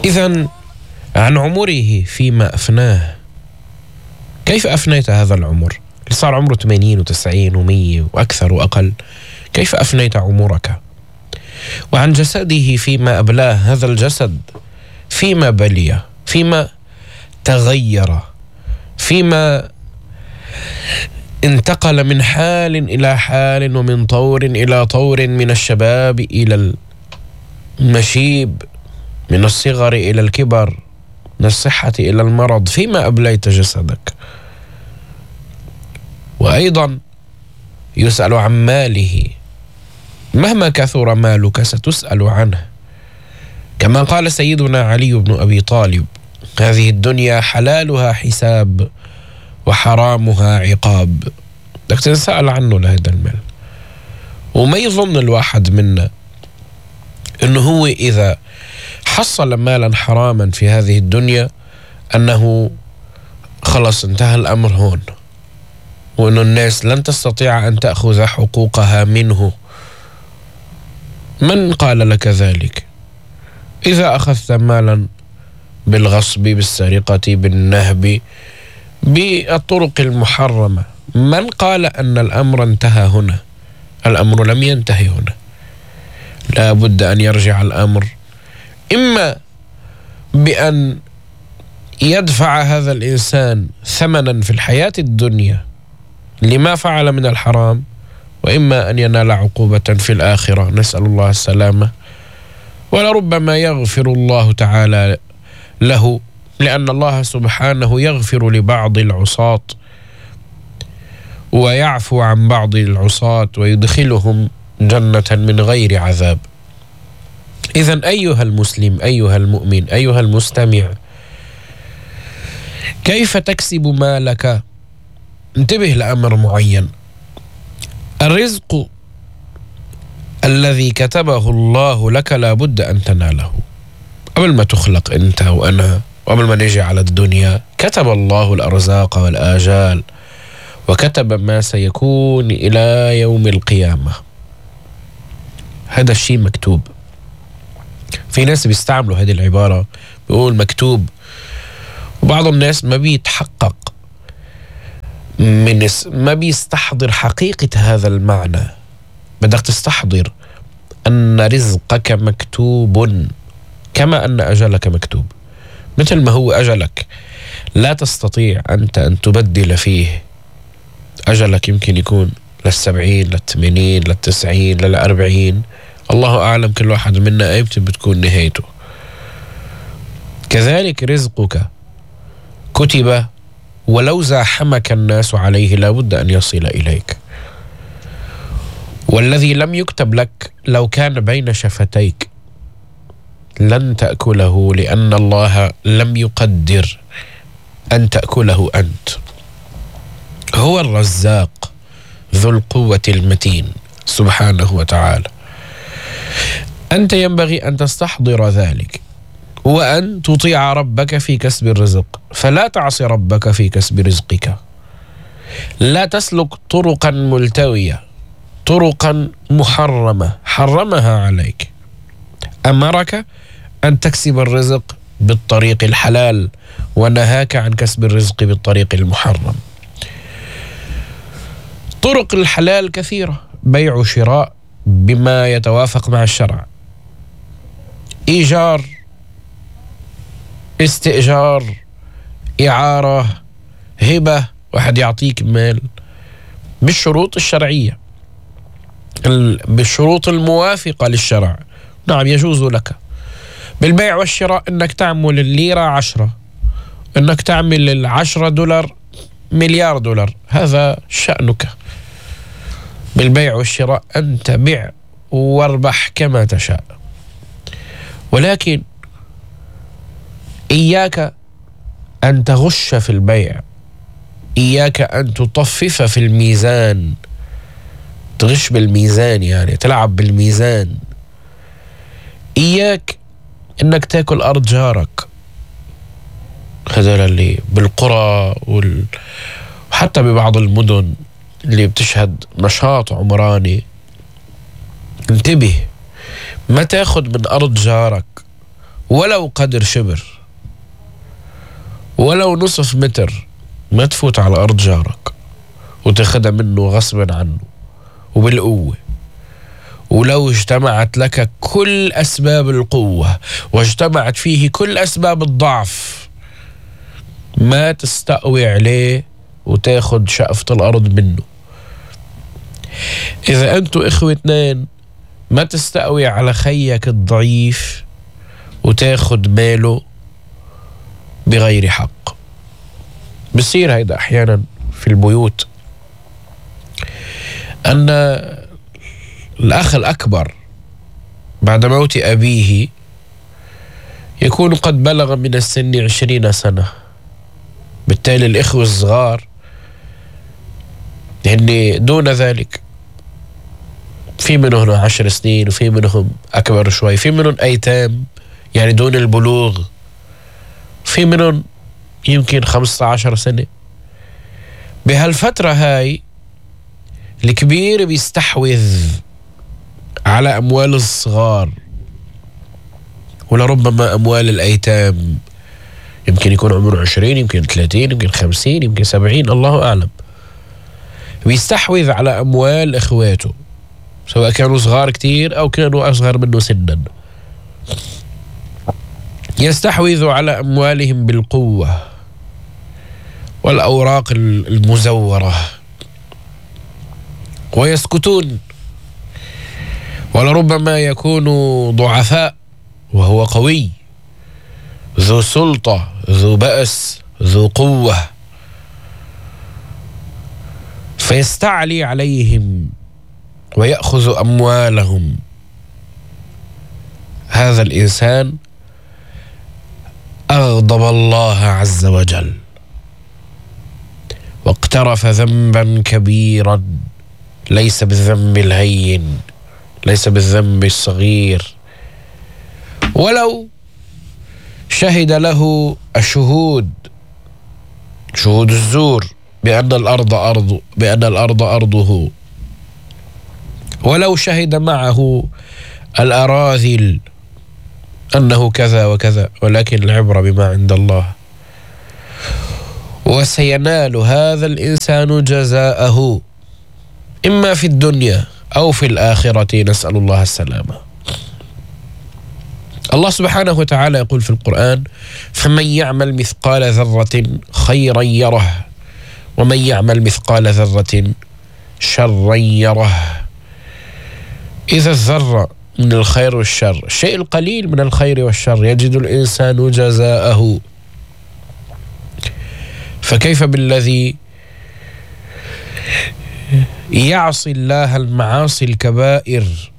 إذن عن عمره فيما أفناه، كيف أفنيت هذا العمر اللي صار عمره 80 و90 و100 وأكثر وأقل؟ كيف أفنيت عمرك؟ وعن جسده فيما أبلاه، هذا الجسد فيما بلي، فيما تغير، فيما انتقل من حال إلى حال ومن طور إلى طور، من الشباب إلى المشيب، من الصغر إلى الكبر، من الصحة إلى المرض. فيما أبليت جسدك. وأيضا يسأل عن ماله، مهما كثر مالك ستسأل عنه، كما قال سيدنا علي بن أبي طالب: هذه الدنيا حلالها حساب وحرامها عقاب. بدك تنسأل عنه لهذا المال. وما يظن الواحد منا انه هو اذا حصل مالا حراما في هذه الدنيا انه خلص انتهى الامر هون، وانه الناس لن تستطيع ان تأخذ حقوقها منه. من قال لك ذلك؟ اذا اخذت مالا بالغصب، بالسرقة، بالنهب، بالطرق المحرمة، من قال أن الأمر انتهى هنا؟ الأمر لم ينتهي هنا. لا بد أن يرجع الأمر إما بأن يدفع هذا الإنسان ثمنا في الحياة الدنيا لما فعل من الحرام، وإما أن ينال عقوبة في الآخرة، نسأل الله السلامة. ولربما يغفر الله تعالى له، لأن الله سبحانه يغفر لبعض العصاة ويعفو عن بعض العصاة ويدخلهم جنة من غير عذاب. إذن أيها المسلم، أيها المؤمن، أيها المستمع، كيف تكسب مالك؟ انتبه لأمر معين. الرزق الذي كتبه الله لك لا بد أن تناله. قبل ما تخلق أنت وأنا، وقبل ما نجي على الدنيا، كتب الله الأرزاق والآجال، وكتب ما سيكون إلى يوم القيامة. هذا الشيء مكتوب. في ناس بيستعملوا هذه العبارة، بيقول مكتوب، وبعض الناس ما بيتحقق ما بيستحضر حقيقة هذا المعنى. بدك تستحضر أن رزقك مكتوب كما أن أجلك مكتوب. مثل ما هو أجلك لا تستطيع أنت أن تبدل فيه. أجلك يمكن يكون لل70 لل80 لل90 لل40، الله أعلم كل واحد منا أيمتى بتكون نهايته. كذلك رزقك كتب، ولو زاحمك الناس عليه لا بد أن يصل إليك. والذي لم يكتب لك لو كان بين شفتيك لن تأكله، لأن الله لم يقدر أن تأكله أنت. هو الرزاق ذو القوة المتين سبحانه وتعالى. أنت ينبغي أن تستحضر ذلك، وأن تطيع ربك في كسب الرزق، فلا تعصي ربك في كسب رزقك. لا تسلك طرقا ملتوية، طرقا محرمة حرمها عليك. أمرك أن تكسب الرزق بالطريق الحلال، ونهاك عن كسب الرزق بالطريق المحرم. طرق الحلال كثيرة: بيع وشراء بما يتوافق مع الشرع، إيجار، استئجار، إعارة، هبة، واحد يعطيك مال بالشروط الشرعية، بالشروط الموافقة للشرع، نعم يجوز لك. بالبيع والشراء انك تعمل الليرة 10، انك تعمل $10 مليار دولار، هذا شأنك. بالبيع والشراء أنت بيع واربح كما تشاء. ولكن إياك أن تغش في البيع، إياك أن تطفف في الميزان، تغش بالميزان، يعني تلعب بالميزان. إياك أنك تأكل أرض جارك، هذا اللي بالقرى وحتى ببعض المدن اللي بتشهد نشاط عمراني. انتبه، ما تاخد من أرض جارك ولو قدر شبر، ولو نصف متر، ما تفوت على أرض جارك وتاخدها منه غصبا عنه وبالقوة. ولو اجتمعت لك كل أسباب القوة واجتمعت فيه كل أسباب الضعف، ما تستقوي عليه وتاخد شقفة الأرض منه. إذا أنتوا إخوة اثنين، ما تستقوي على خيك الضعيف وتاخد ماله بغير حق. بصير هيدا أحيانا في البيوت، أن الأخ الأكبر بعد موت أبيه يكون قد بلغ من السن 20 سنة، بالتالي الإخوة الصغار يعني دون ذلك، في منهم 10 سنين وفي منهم أكبر شوي، في منهم أيتام يعني دون البلوغ، في منهم يمكن 15 سنة. بهالفترة هاي الكبير بيستحوذ على أموال الصغار، ولربما أموال الأيتام، يمكن يكون عمره 20، يمكن 30، يمكن 50، يمكن 70، الله أعلم. بيستحوذ على أموال إخواته، سواء كانوا صغار كتير أو كانوا أصغر منه سنا. يستحوذ على أموالهم بالقوة والأوراق المزورة ويسكتون، ولربما يكونوا ضعفاء وهو قوي، ذو سلطة، ذو بأس، ذو قوة، فيستعلي عليهم ويأخذ أموالهم. هذا الإنسان أغضب الله عز وجل واقترف ذنبا كبيرا، ليس بالذنب الهين، ليس بالذنب الصغير. ولو شهد له الشهود، شهود الزور، بأن الأرض أرضه، ولو شهد معه الأراذل أنه كذا وكذا، ولكن العبرة بما عند الله. وسينال هذا الإنسان جزاءه إما في الدنيا أو في الآخرة، نسأل الله السلامة. الله سبحانه وتعالى يقول في القرآن: فمن يعمل مثقال ذرة خيرا يره، ومن يعمل مثقال ذرة شرا يره. إذا الذرة من الخير والشر، الشيء القليل من الخير والشر، يجد الإنسان جزاءه. فكيف بالذي يعصي الله المعاصي الكبائر،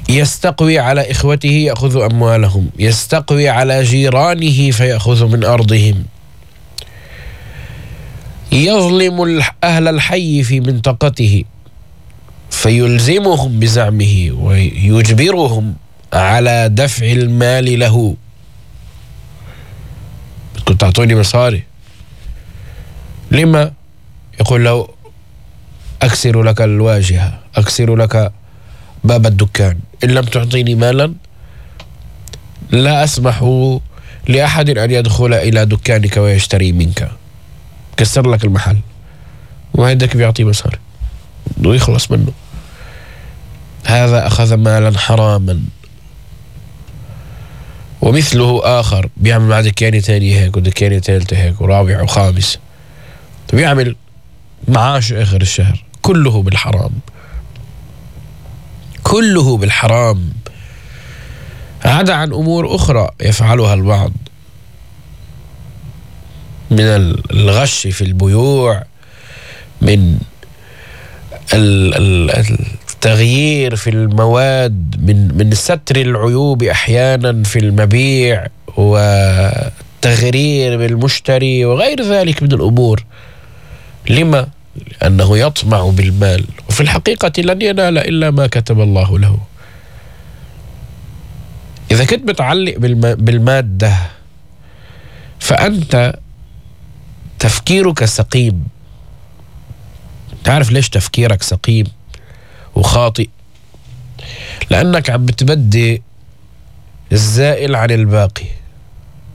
يستقوي على إخوته يأخذ أموالهم، يستقوي على جيرانه فيأخذ من أرضهم، يظلم أهل الحي في منطقته فيلزمهم بزعمه ويجبرهم على دفع المال له. بدكم تعطوني مصاري، لما؟ يقول له: أكسر لك الواجهة، أكسر لك باب الدكان، إن لم تعطيني مالا لا أسمح لأحد أن يدخل إلى دكانك ويشتري منك، كسر لك المحل. وهيدك بيعطي مصاري ويخلص منه. هذا أخذ مالا حراما. ومثله آخر بيعمل مع دكانة تاني هيك، ودكانة ثالثة هيك، ورابع وخامس، بيعمل معاش آخر الشهر، كله بالحرام، كله بالحرام، عدا عن أمور أخرى يفعلها البعض من الغش في البيوع، من التغيير في المواد، من ستر العيوب أحيانا في المبيع، وتغرير بالمشتري وغير ذلك من الأمور. لما؟ لأنه يطمع بالمال، وفي الحقيقة لن ينال إلا ما كتب الله له. إذا كنت متعلق بالمادة فأنت تفكيرك سقيم. تعرف ليش تفكيرك سقيم وخاطئ؟ لأنك عم بتبدي الزائل عن الباقي.